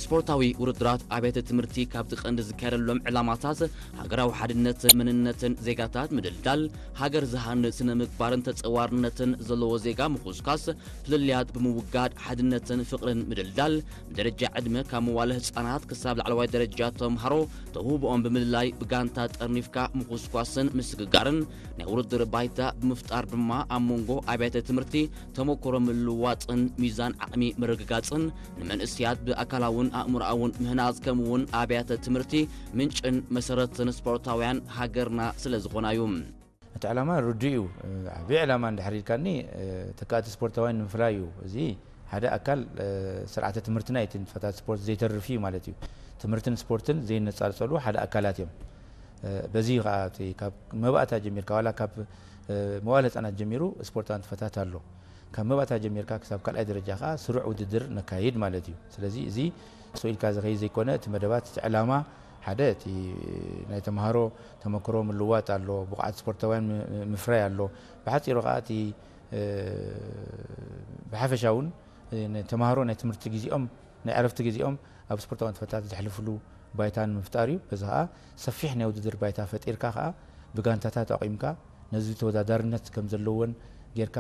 ስፖርታዊ ውድድራት ኣብያተ ትምህርቲ ካብቲ ቀንዲ ዝካየደሎም ዕላማታት ሃገራዊ ሓድነትን መንነትን ዜጋታት ምድልዳል፣ ሃገር ዝሃንጽ ስነ ምግባርን ተጸዋርነትን ዘለዎ ዜጋ ምኹስኳስ፣ ፍልልያት ብምውጋድ ሓድነትን ፍቕርን ምድልዳል፣ ብደረጃ ዕድመ ካብ መዋለ ህጻናት ክሳብ ላዕለዋይ ደረጃ ተምሃሮ ተውህቦኦም ብምልላይ ብጋንታ ጠርኒፍካ ምኹስኳስን ምስግጋርን ናይ ውድድር ባይታ ብምፍጣር ድማ ኣብ መንጎ ኣብያተ ትምህርቲ ተመክሮ ምልውዋጥን ሚዛን ዓቕሚ ምርግጋጽን ንመንእስያት ብኣካላውን ኣእምሮኣውን ምህናጽ ከምኡውን ኣብያተ ትምህርቲ ምንጭን መሰረትን ስፖርታውያን ሃገርና ስለ ዝኾና እዩ። እቲ ዕላማ ርዱእ እዩ። ዓብዪ ዕላማ እንድሕር ኢልካኒ ተካእቲ ስፖርታውያን ንምፍራይ እዩ። እዚ ሓደ ኣካል ስርዓተ ትምህርትና እቲ ንጥፈታት ስፖርት ዘይተርፍ እዩ ማለት እዩ። ትምህርትን ስፖርትን ዘይነጻጸሉ ሓደ ኣካላት እዮም። በዚ ከዓ እቲ ካብ መባእታ ጀሚርካ ዋላ ካብ መዋል ህፃናት ጀሚሩ ስፖርታዊ ንጥፈታት ኣሎ። ካብ መባእታ ጀሚርካ ክሳብ ካልኣይ ደረጃ ከዓ ስሩዕ ውድድር ነካይድ ማለት እዩ። ስለዚ እዚ ስቕ ኢልካ ዝኸይድ ዘይኮነ እቲ መደባት እቲ ዕላማ ሓደ እቲ ናይ ተምሃሮ ተመክሮ ምልዋጥ ኣሎ፣ ብቕዓት ስፖርታውያን ምፍራይ ኣሎ። ብሓፂሩ ከዓ እቲ ብሓፈሻ እውን ተምሃሮ ናይ ትምህርቲ ግዜኦም ናይ ዕረፍቲ ግዜኦም ኣብ ስፖርታዊ ንጥፈታት ዘሕልፍሉ ባይታ ንምፍጣር እዩ። በዚ ከዓ ሰፊሕ ናይ ውድድር ባይታ ፈጢርካ ከዓ ብጋንታታት ኣቑምካ ነዚ ተወዳዳርነት ከም ዘለዎን ጌርካ